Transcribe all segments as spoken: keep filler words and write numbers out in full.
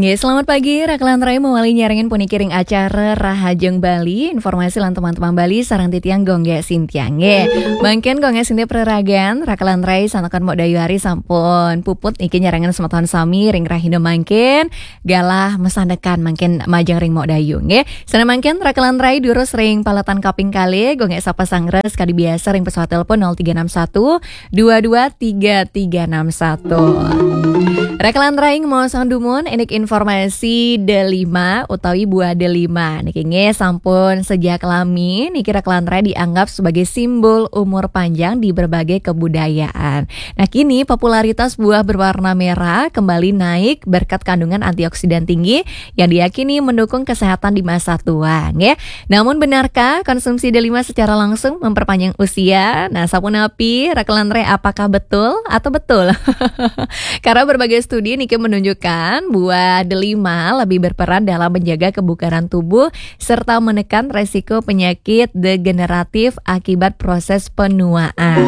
Ya, selamat pagi, Rakelan Rai mawali nyarengin puniki ring acara Rahajeng Bali, informasi lan teman-teman Bali, sareng titiang Gung Gek Sintiang. Nggih, mangkin Gung Gek Sintiang praragan, Rakelan Rai santakan Mok Dayu Ari sampun puput niki nyarengin semeton sami ring rahina mangkin, galah masandekan mangkin majeng ring Mok Dayu. Nggih, sané mangkin Rakelan Rai durus ring paletan kaping kalih, Gung Gek sapa sanggra kadi biasa ring pesawat telepon nol tiga enam satu dua dua tiga tiga enam satu. Rakelan Rai ngemaosang dumun, indik informasi delima utawi buah delima. Niki nggih sampun sejak lami, niki Rakelan Rai dianggap sebagai simbol umur panjang di berbagai kebudayaan. Nah, kini popularitas buah berwarna merah kembali naik berkat kandungan antioksidan tinggi yang diyakini mendukung kesehatan di masa tua, nggih. Namun, benarkah konsumsi delima secara langsung memperpanjang usia? Nah, sapunapi, Rakelan Rai, apakah betul atau betul? Karena berbagai studi niki menunjukkan buah delima lebih berperan dalam menjaga kebugaran tubuh serta menekan resiko penyakit degeneratif akibat proses penuaan.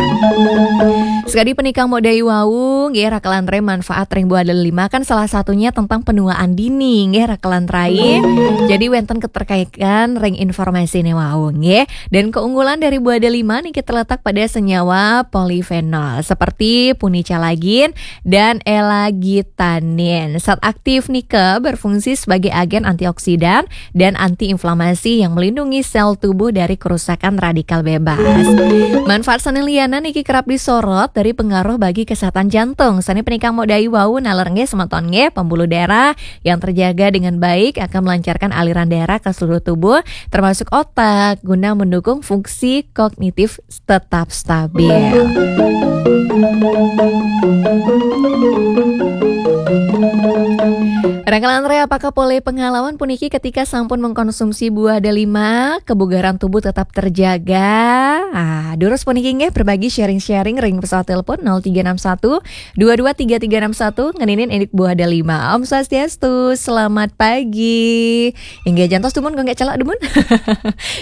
Sekadi punika Mok Dayu wau, nggih, Rakelan Rai, manfaat ring buah delima kan salah satunya tentang penuaan dini, nggih, Rakelan Rai. Jadi wénten keterkaitan ring informasiné wau, nggih. Dan keunggulan dari buah delima niki terletak pada senyawa polifenol seperti punicalagin dan elagitanin. Zat aktif nika berfungsi sebagai agen antioksidan dan antiinflamasi yang melindungi sel tubuh dari kerusakan radikal bebas. Manfaat sané lianan niki kerap disorot dari pengaruh bagi kesehatan jantung. Sané punika Mok Dayu wau, naler nggih semeton nggih, pembuluh darah yang terjaga dengan baik akan melancarkan aliran darah ke seluruh tubuh, termasuk otak, guna mendukung fungsi kognitif tetap stabil. Rakelan Rai, apakah polih pengalaman puniki ketika sampun mengkonsumsi buah delima, kebugaran tubuh tetap terjaga? Ah, durus puniki nggih, berbagi sharing-sharing ring pesawat telepon nol tiga enam satu dua dua tiga tiga enam satu, ngeninin indik buah delima. Om Swastiastu, selamat pagi. Inggih, jantos dumun, Gung Gek, celak dumun.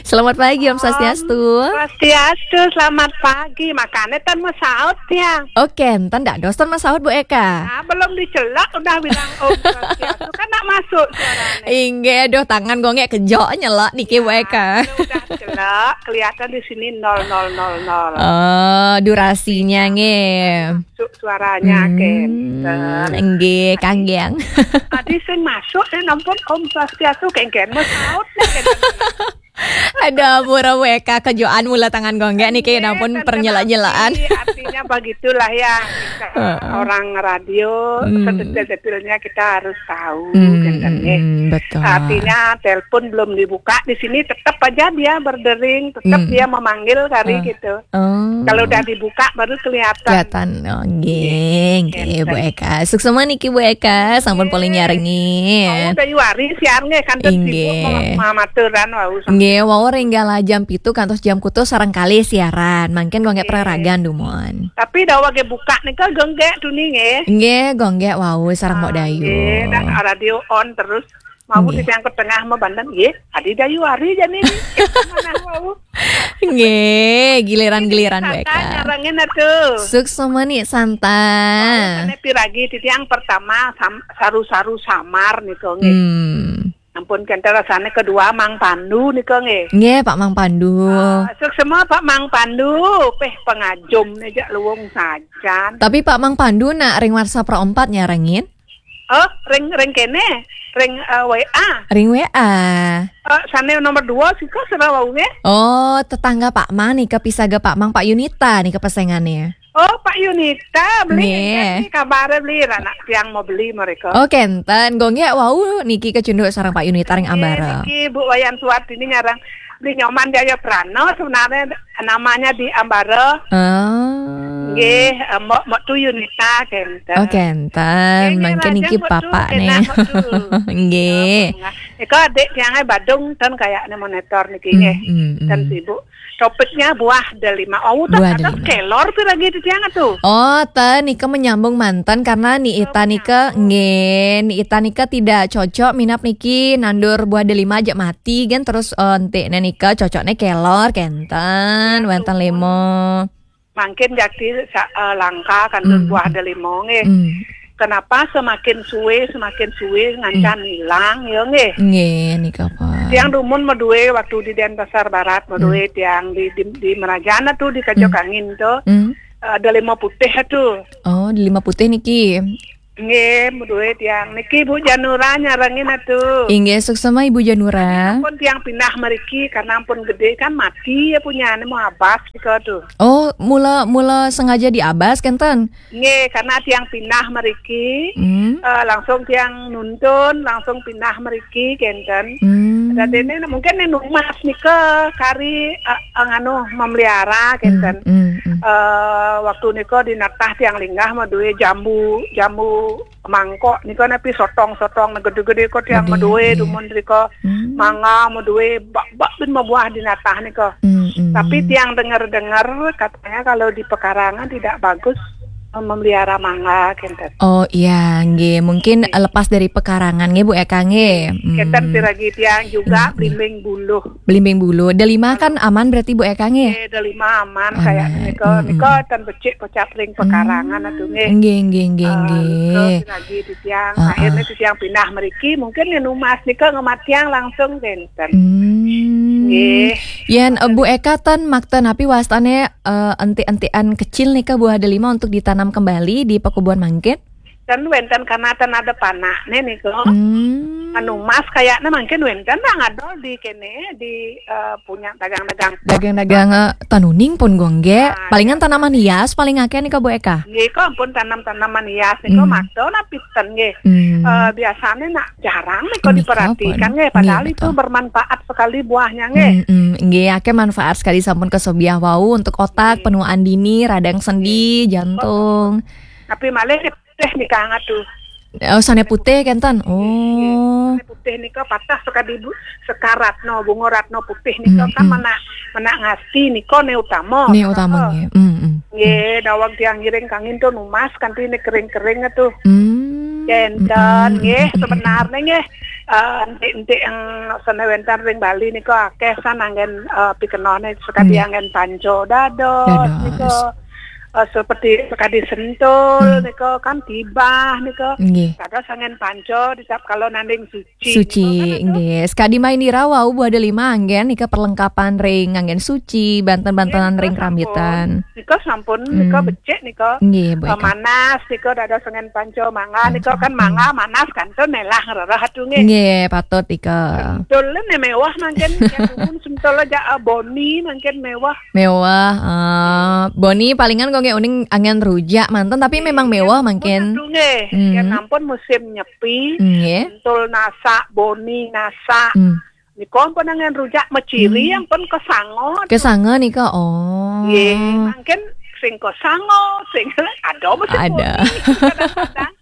Selamat pagi, Om Swastiastu. Swastiastu, selamat pagi. Makane tan masaut ya. Oke, enten dak dos tan masaut, Bu Eka? Ah, belum dicelak udah bilang Om Swastiastu. Kan nak masuk suaranya. Inggih, aduh, tangan Gung Gek kejok nyelak niki, Bu Eka. Kalau udah celak, kelihatan di sini nol nol nol nol. Oh, durasinya nggih. Masuk suaranya, hmm, kenten. Nggih, kanggeng. Tadi sing masuk, eh, nampun Om Swastiastu, kengken masaut nih, kenten. Ada ampura, Bu Eka, kejokan mula tangan Gung Gek niki, nggih, nampun pernyelak-nyelakan. Artinya begitulah ya, kita orang radio, hmm, sedetil-detilnya kita harus tahu, hmm, kenten, hmm, nggih. Hmm, betul. Artinya telepon belum dibuka, di sini tetap aja dia berdering, tetap, hmm, dia memanggil kali, ah, gitu. Oh. Kalau udah dibuka baru kelihatan. Kelihatan. Oh, nggih, nggih, nggih, Bu Eka. Suksma niki, Bu Eka, sampun polih nyarengin. Oh, Dayu Ari siar nggih, kan sibuk, inggih, ma-, mamaturan wau. Nggih, wau ring galah jam pitu kantos jam kutus sareng kalih siaran. Mangkin Gung Gek, nggih, praragan dumun. Tapi dawage buka nika Gung Gek tuni nggih. Nggih, Gung Gek wau sareng Mok Dayu. Ah, nggih, dah radio on terus. Mau, nggih, di yang ke tengah mah banten, nggih. Adi Dayu Ari jani nih. Mana mau? Nggih, giliran-giliran, Bu Eka. Nyarengin atuh. Suksma nih, santai. Mau sané piragi, titiang pertama sam-, saru-saru samar nika nggih. Hmm. Ampun, kenten, rasane kedua Mang Pandu nika nggih. Nggih, Pak Mang Pandu. Ah, suksma Pak Mang Pandu, peh pangajum nih jak luwung sajan. Tapi Pak Mang Pandu nak ring WhatsApp ro empat nyarengin? Oh, ring, ring kene, ring, eh, W A. Ring W A. Eh, sane nomor dua sika sira wau nggih. Oh, tetangga Pak Mang nika, pisaga Pak Mang, Pak Yunita nika pesengane. Oh, Pak Yunita, beli, nggih, nggih, kabare beli, anak tiang mau beli mereka. Oh, kenten. Gung Gek wau niki kecunduk sareng Pak Yunita ring, nggih, ambara. Niki Bu Wayan Suwardini nyarang beli Nyoman Jaya Prana sebenarnya namanya di ambara. Oh. Nggih, eh, Mbok, Mbok Tu Yunita kenten. Oh, kenten. Nggih, nggih, mangke niki lajeng Mbok Tu, papane. Enak Mbok Tu. Nggih. Eko adik tiange Badung ten kayakne monitor niki nggih. Hmm, hmm, hmm. Ten sibuk. Topiknya buah delima. Oh, buah delima. Kelor pi lagi di tiang tu. Oh, ten nika menyambung manten karena Ni Ita nika, menyambung, nggih, Ni Ita nika tidak cocok minab niki nandur buah delima aja mati kan, terus, eh, entik ne nika cocokne kelor kenten, ya, wenten limo. Mangkin jakti sa-, eh, langka kantos, hmm, buah delima nggih. Hmm. Kenapa semakin suwe, semakin suwe ngancan hilang, ya nggih. Nggih, nika pun. Tiang dumun madué waktu di Denpasar Barat, madué tiang di, di, di Merajana tuh, di Kajok Angin tuh. Hmm. Eh, ada lima putih tuh. Oh, di lima putih niki. Nggih, madué tiang. Niki Bu Janura nyarengin atuh. Inggih, suksema Ibu Janura. Pun tiang pindah mriki karena ampun gedé kan mati ya punyane mau abas nika tuh. Oh, mula, mula sengaja diabas kenten? Nggih, karena tiang pindah mriki, Hmm. eh, langsung tiang nuntun, langsung pindah mriki kenten. Hmm. Dadene mungkin nih numas nika kari, eh, eh, nganu memelihara kenten. Hmm, hmm, hmm. Eh, waktu nika di natah tiang linggah madué jambu, jambu mangkok nika napi sotong-sotong gedé-gedé kok tiang gedé, madué nggih. Dumun nika. Hmm. Mangga madué bak-bak bin mabuah di natah nika. Hmm, hmm. Tapi tiang dengar-dengar katanya kalau di pekarangan tidak bagus memelihara mangga kenten. Oh iya, nggih. Mungkin, eh, lepas dari pekarangan nggih, Bu Eka nggih. Hmm. Kenten piragi tiang juga Hmm, hmm. Belimbing Buluh. Belimbing Buluh. Delima kan aman berarti, Bu Eka nggih? Eh, Delima aman. Aman. Kayak nika, hmm, nika hmm. Ten becik pocap ring pekarangan atuh nggih. Nggih, nggih, nggih, ah, nggih. Nika piragi titiang. Ah, akhirnya ah. Titiang pindah mriki, mungkin yen numas nika ngematiang langsung kenten. Hmm. Nggih. Yen, eh, Bu Eka ten makta napi wastane, eh, entik-entikan kecil nika buah delima untuk ditanam kembali di pekubuan mangkin? Ten wenten karena ten ada panakne nika. Hmm. Anu mas kayaknya mungkin wenten lah ngadol di kene di, eh, punya dagang-dagang. Dagang-dagang, eh, tanuning pun gongge. Nah, palingan iya. Tanaman hias paling akeh nika Bu Eka. Nggih, kok ampun tanam-tanaman hias nika Hmm. Makta napi ten nggih. Hmm. Eh, biasanya nak jarang nika. Nika diperhatikan pun. Nggih, padahal nggih, itu betul. Bermanfaat sekali buahnya nggih. Hmm, hmm. Nggih, akeh manfaat sekali sampun kesobiah wau untuk otak, nggih. Penuaan dini, radang sendi, nggih. Jantung. Tapi malih putih nika ngatu. Oh, sane putih kenten. Nggih, nggih. Oh. Sane putih nika patah sekadi bu-, Sekar Ratna, Bunga Ratna putih nika Hmm, kan hmm. Menak, menak ngasti nika ne utama. Ne utama. Heeh. Nggih. Hmm, hmm. Nggih, dawang tiang ngiring kangin tuh numas kanthi ne kering-kering tuh. Hmm. Kenten, hmm, nggih, hmm, hmm, sebenarnya nggih, eh, entik-entik yang sene wenten ring Bali nika akeh san anggen, eh, pikenone sekadi hmm. Anggen panco dados dados. Nika, eh, seperti sekadi sentul hmm. Nika kan tibah nika. Nggih. Dados anggen panco dicap kalau nanding suci. Suci, nika kan itu. Nggih. Sekadi main ira wau buah delima anggen nika perlengkapan ring anggen suci, banten-bantenan nggih, ring sampun. Kerambitan. Nika sampun, hmm. Nika becik nika. Nggih, Bu eh, Eka. Manas nika dados sengen panco mangga, panco. Nika kan hmm. Mangga manas kan tuh nelah ngerereh atuh nggih. Nggih, patut nika. Sentul ne mewah mangkin, yang dumun sentul aja, eh, boni mangkin mewah. Mewah, eh, boni palingan kok nggih uning anggen rujak manten, tapi nggih, memang mewah mangkin. Atuh nggih, hmm. Yang ampun musim nyepi, nggih. Sentul nasak, boni nasak. Hmm. Nika ampun anggen rujak meciri hmm. Ampun kesanga. Kesanga nika, oh. Nggih, mangkin sing kesanga, sing ada mesti ada. Boni, kadang-kadang.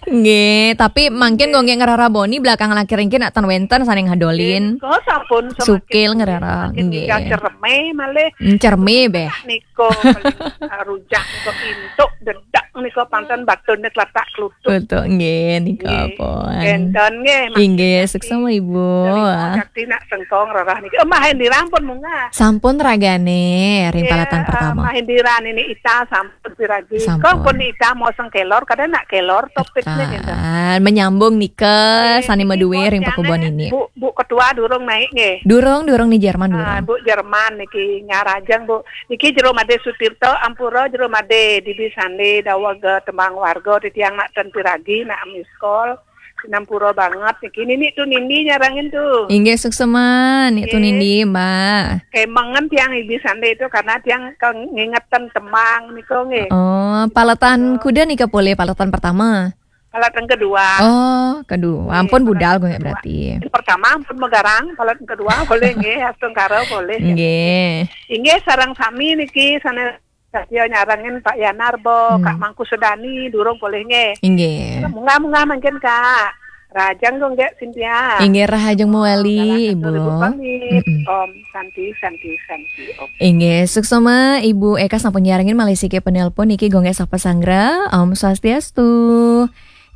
Nggih, tapi mangkin nggih. Kok nggih ngerara boni belakang lakir nggih nak ten wenten sane ngadolin. Nggih, kok sampun semakin sukil ngerara, semakin nggih. Nika cerme malih. Hmm, cerme beh. Nika paling, eh, rujak nika intuk dedak nika panten batune tlatak klutuk. Betul, nggih, nika nggih. Pun. Kenten nggih, Mas. Inggih, Sakti. Suksema, Ibu. Terima kasih nak sengkong rerah niki. Eh, Mahendira pun munggah. Sampun ragane ring nggih, palatan eh, pertama. Mahendira nini Ita sampun piragi. Sampun. Kok pun Ita mau sengkelor, kadang nak kelor topiknya gitu. Kan, menyambung nika, nggih, sane niki maduwe ring pekubon ini. Bu, Bu Ketua durung naik nggih. Durung, durung ni Jerman ah, durung. Bu Jerman niki nyarajeng, Bu. Niki Jero Made Sutirta, ampura Jero Made, Dibi Sande, daweg tembang warga, titiang nak ten piragi, nak miss call. Sinampura banget niki. Nini tuh Nindi nyarangin tuh. Inggih, suksema, Nik tuh nggih. Nindi, Mbak. Kemengen tiang Ibi Sande itu karena tiang ke-, ngingetan tembang niko nggih. Oh, paletan kuda nika polih, paletan pertama. Paletan kedua. Oh, kedua. Nggih, ampun paletan budal gue kedua. Berarti. Yang pertama ampun megarang, paletan kedua boleh nggih, astungkara boleh. Nggih. Inggih, sareng sami niki sane Satya nyarengin Pak Yanarbo, hmm. Kak Mangku Sedani, durung polih nggih. Inggih. Munggah-munggah mangkin, Kak. Rahajeng dong, Kak Cynthia. Inggih, rahajeng mawali, Ibu. Ibu pamit. Mm-mm. Om Santi, Santi, Santi, Om. Inggih, suksema, Ibu Eka sampun nyarengin malih siki penelpon niki gonggek sapa sanggra. Om Swastiastu.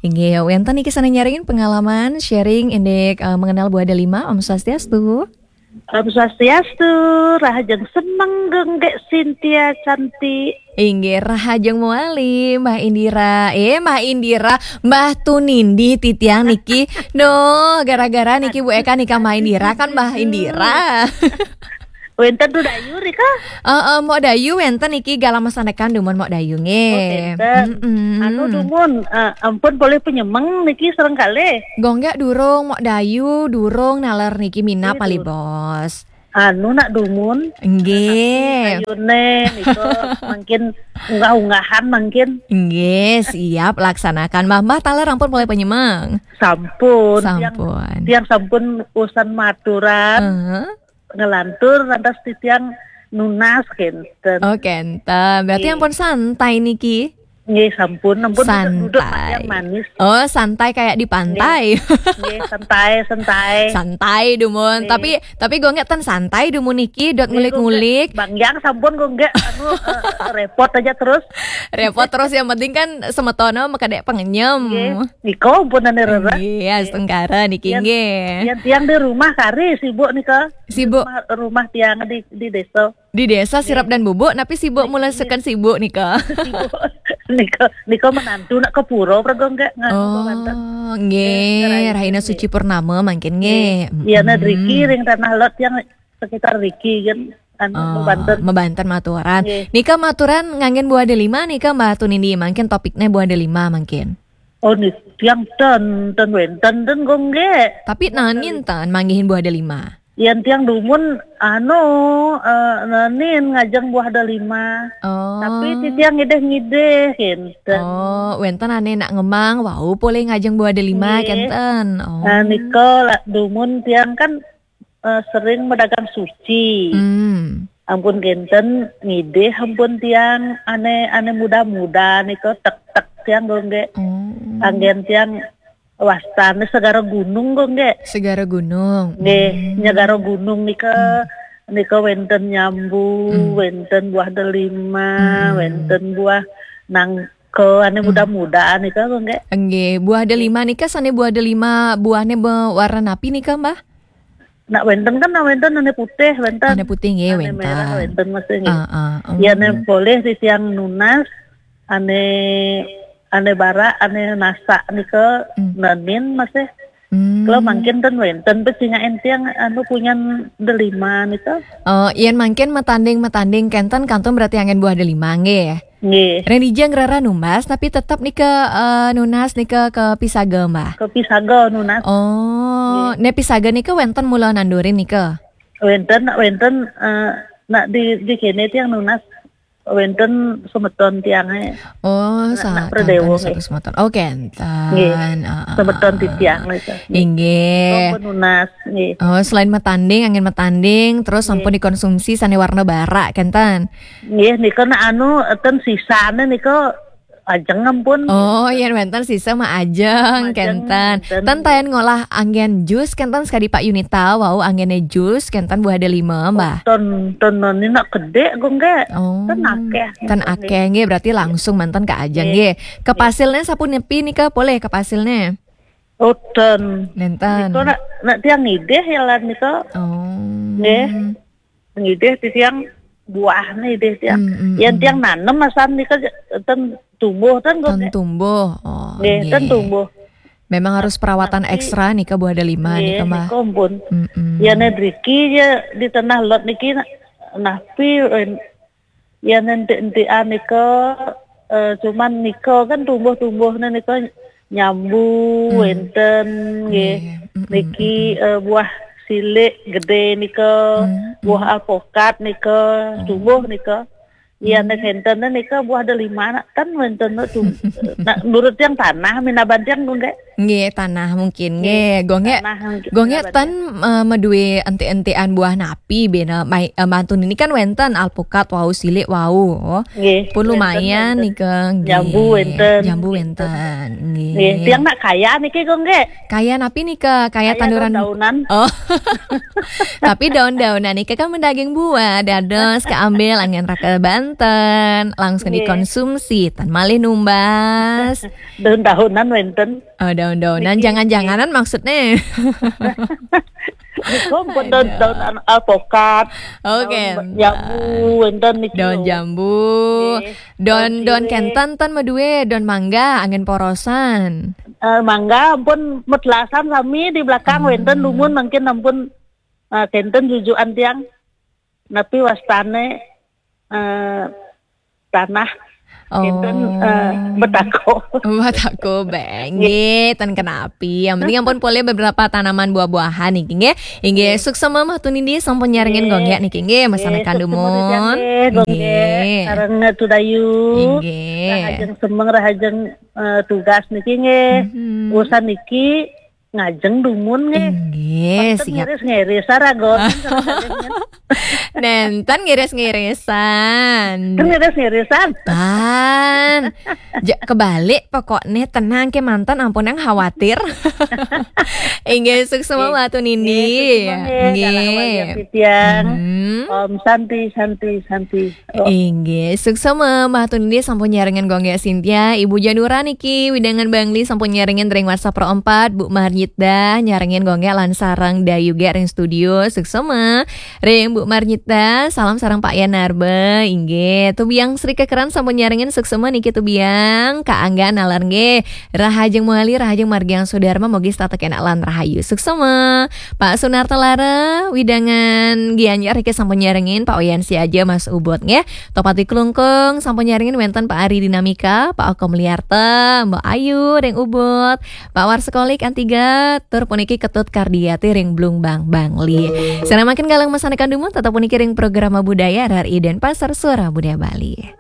Inggih, wenten niki sane nyarengin pengalaman, sharing, indik, eh, mengenal buah delima. Om Swastiastu. Om Swastiastu, rahajeng semeng Gung Gék Sintia cantik. Inggih, rahajeng mawali, Mbah Indira. Eh, Mbah Indira, Mbah Tunindi titiang niki. Duh, gara-gara niki Bu Eka nika Mbah Indira kan Mbah Indira. Wénten Mbok Dayu rika? Heeh, Mbok Dayu wénten niki galah masanekan dumun Mbok Dayu nggih. Oh, wénten. Mm-mm. Anu dumun, eh, ampun polih panyemeng niki sareng kalih. Gung Gék durung, Mbok Dayu durung naler niki minab. Nggih, malih, durung. Bos. Anu nak dumun. Nggih. Ayuné nika mangkin unggah-unggahan mangkin. Nggih, siap laksanakan. Mbah, Mbah taler ampun polih panyemeng. Sampun, tiang, sampun. Tiang sampun usan maturan. Heeh. Ngelantur lantas titiang nunas kénten. Oh, kénten. Berarti nggih. Ampun santai niki. Nggih, sampun, ampun duduk, duduk santai. Yang manis. Oh, santai kayak di pantai. Nggih. Nggih, santai, santai. Santai dumun. Nggih. Tapi, tapi Gung Gék ten santai dumun niki, dot nggih, ngulik-ngulik. Gung Gék. Bang Yang sampun Gung Gék, anu, eh, repot aja terus. Repot terus, yang penting kan semetona makadék pangenyem. Nggih. Nika ampun ane rereh. Nggih, astungkara niki nggih. Yang, yang tiang di rumah kari sibuk nika. Sibuk. Rumah, rumah tiang di, di desa. Di desa sirep dan bubuk, tapi sibuk mula seken sibuk nika. Sibuk. Nika, nika menantu nak ke pura, praga enggak nganu. Oh, banten. Nggih, eh, rahina suci purnama mangkin nggih. Iya, nah, driki ring Tanah Lot yang sekitar driki kan, anu, oh, banten. Mabanten maturan. Nggih. Nika maturan nganggen buah delima nika, Mbah Tunindi, mangkin topiknya buah delima mangkin. Oh, nih, tiang ten, ten wénten, ten Gung Gék. Tapi nanin ten manggihin buah delima. Yan tiang dumun, anu, eh, nanin ngajeng buah delima. Oh. Tapi titiang ngidih-ngidih, kénten. Oh, wénten ané nak ngemang, wau polih ngajeng buah delima, nggih. Kénten. Oh. Nah, nika la-, dumun tiang kan, eh, sering medagang suci. Hmm. Ampun kénten ngidih, ampun tiang ané, ané muda-muda nika tek-tek tiang Gung Gék. Oh. Anggén tiang wastane Segara Gunung, Gung Gék. Segara Gunung. Nggih, hmm. Nyegara Gunung nika, hmm, nika wénten nyambu, hmm, wénten buah delima, hmm, wénten buah nangka, ane, hmm, muda-muda nika, Gung Gék. Nggih, buah delima nika sane buah delima buahne be-, warna napi nika, Mbah? Nak wénten kan, nak wénten ane putih, wénten. Ane putih nggih, ane wénten. Merah wénten, masih nggih. Ah, ah, hmm. Ya, ane polih titiang nunas, ane, ane barak, ane nasak nika, hmm, nanin masih. Hmm. Kalau mangkin ten wénten, pecingain tiang anu punyan delima nika. Oh, yen mangkin matanding-matanding kenten kantun berarti anggen buah delima nggih. Nggih. Ren ijeng rera numbas, tapi tetep nika, eh, nunas nika ke pisaga, Mbah? Ke pisaga nunas. Oh, nggih. Ne pisaga nika wénten mula nandurin nika? Wénten, nak wénten, eh, nak di, di kene tiang nunas. Wénten semeton tiange. Oh, nak, sa-, nak Pradewa, tantun nggih. Satu semeton. Oh, kenten. Nggih. Ah, ah, semeton ah, titiang nika. Inggih. Sampun nunas, nggih. Oh, selain matanding, anggen matanding, terus, nggih, sampun dikonsumsi sane warna barak, kenten? Nggih, nika nak anu, ten sisane nika ajeng ampun. Oh, yen wénten sisa mah ajeng, ajeng, kenten. Kenten. Ten tayan ngolah anggen jus, kenten sekadi Pak Yunita, wau anggene jus, kenten buah delima, Mbah. Oh, ten, ten ini nak gede, Gung Gék. Oh. Ten akeh. Ten akeh, nggih. Berarti langsung manten ke ajeng, nggih, nggih. Nggih. Kepasilnya sapunapi nika, polih kepasilnya? Oh, ten. Nenten. Nika nak, nak tiang ngidih ya lan nika. Oh. Nggih. Ngidih titiang buahne idih tiang. Hmm, hmm, yen, hmm, tiang nanem asan nika ten tumbuh ten kok, ten nggih. Tumbuh. Oh, nggih, nggih. Ten tumbuh. Memang harus perawatan, tapi ekstra nika buah delima, nggih, nika, Mbah. Nika ampun. Hmm, hmm. Yen driki ya di Tanah Lot niki na-, napi, yen, yen entik-entikan nika, eh, cuman nika kan tumbuh-tumbuhne nika nyambu, hmm, wénten nggih. Nggih. Mm, mm, niki, mm, mm, eh, buah silik gede nika, hmm, mm, buah alpokat nika, oh, tumbuh nika. Iya, hmm, nek wénten nika buah delima nak ten wénten tum-, nak nurut yang tanah minaban tiang nggih. Nggih, tanah mungkin nggih. Nggih, Gung Gék, tanah mungkin minaban tiang. Gung Gék ten, eh, madue entik-entikan buah napi bena mai, eh, mantun ini kan wénten alpukat wau silik wau. Nggih, pun wénten, lumayan wénten. Nika, nggih. Jambu wénten. Jambu wénten, nggih. Nggih, tiang nak kaya niki, Gung Gék. Kaya napi nika? Kaya, kaya tanduran daun-daunan. Oh. Tapi daun-daunan nika kan mendaging buah, dados keambil angin raka banten, langsung, nggih, dikonsumsi, tan malih numbas. Daun-daunan wénten. Oh, daun-daunan, niki, jangan-janganan, nggih, maksudnya. Niku pun daun, daun an-, alpokat. Oke. Daun jambu, wénten niki. Daun Lho. Jambu. Nggih. Don Daun don sirih. Kenten ten Madue, don mangga angin porosan. Eh, mangga ampun medlasan sami di belakang wénten dumun mungkin ampun, eh, kenten jujukan tiang. Napi wastane, eh, tanah. Oh. Kenten, eh, betako. Betako, beng. Nggih, ten kenapi. Yang penting ampun boleh beberapa tanaman buah-buahan niki nggih. Inggih, suksema Mbah Tunindi sampun nyarengin gonggek niki nggih, masanekan dumun. Nggih. Sareng Tudayu. Inggih. Rahajeng semeng, rahajeng, eh, tugas niki nggih. Mhm. Urusan niki ngajeng dumun nggih. Inggih, Ten siap. Ngiris-ngiris saragon. Nenten ngiris-ngirisan. Ngiris-ngirisan. Tan. Ja, kebalik pokoknya tenang ke mantan ampun yang khawatir. Inggih, suksema Mbah Tunindi. Nggih, suksema nggih, dalah awal ya, Titiang. Hmm. Om Santi, Santi, Santi. Oh. Inggih, suksema Mbah Tunindi sampun nyarengin gonggek Sintia, Ibu Janura niki, widangan Bangli sampun nyarengin ring WhatsApp Pro empat, Bu Marnyita nyarengin gonggek lan sareng Dayu ge ring studio, suksema. Ring Bu Marnyita, salam sareng Pak Yan Narba, inggih. Tubiang Sri Kekeran sampun nyarengin, suksema niki Tubiang, Kak Angga nalar nggih. Rahajeng Muali, rahajeng Margiang Sudarma, mogi setata kenak lan rahayu. Suksema. Pak Sunarta Lara, widangan Gianyar iki sampun nyarengin, Pak Oyan Siaja, Mas Ubot nggih. Topati Klungkung sampun nyarengin, wenten Pak Ari Dinamika, Pak Oko Meliarta, Mbok Ayu ring Ubud, Pak Warsekolik Antiga, tur puniki Ketut Kardiati ring Blumbang Bangli. Sareng mangkin kalih masanekan dumun, tetep puniki ring program Budaya R R I Denpasar, Suara Budaya Bali.